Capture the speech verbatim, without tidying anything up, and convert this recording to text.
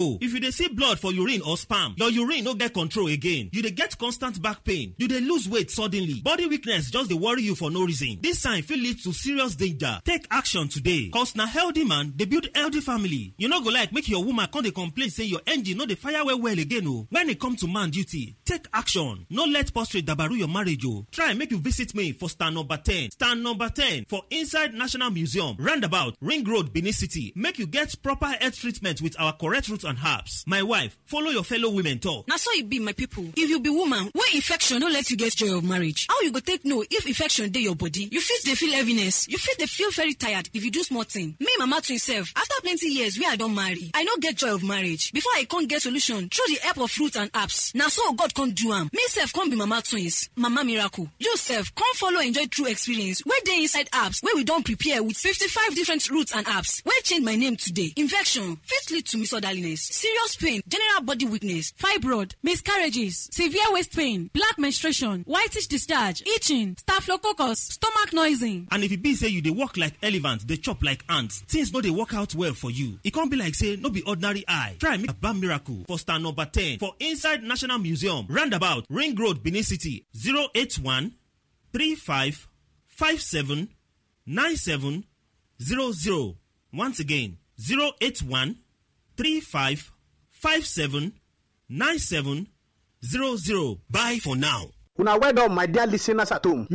Oh, if you dey see blood for urine or sperm, your urine no get control again. You dey get constant back pain. You dey lose weight suddenly. Body weakness just dey worry you for no reason. This sign fit lead to serious danger. Take action today. Cause na healthy man dey build healthy family. You no go like make your woman come dey complain say your engine no dey fire well well again o. When e come to man duty, take action. No let prostate dabaru your marriage o. Try make you visit me for stand number ten. Stand number ten for inside National Museum, roundabout, Ring Road, Benin City. Make you get proper health treatment with our correct roots and herbs. My wife, follow your fellow women talk. Na so e be, my people. If you be woman wey infection no let you get joy of marriage, how you go take know if infection dey your body? You fit dey feel heaviness, you fit dey feel very tired if you do small thing. Me, Mama Twin sef, after plenty years wey I don marry, I no get joy of marriage. Before I come get solution through the help of fruit and herbs, na so God come do am. Me sef come be Mama Twins, Mama Miracle. You sef come follow enjoy true experience wey dey inside herbs wey we don prepare with fifty-five different roots and herbs wey change my name today. Infection fit lead to misorderliness, serious pain, general body weakness, fibroid, miscarriages, severe waist pain, black menstruation, whitish discharge, itching, staphylococcus, stomach noising. And if e be say you dey work like elephant, dey chop like ant, things no dey work out well for you. E come be like say no be ordinary eye. Try make Baba Miracle for stand number ten for inside National Museum, roundabout, Ring Road, Benin City. Zero eight one three five five seven nine seven zero zero. Once again, zero eight one three five five seven nine seven zero zero. Bye for now. Una well done, my dear listeners at home.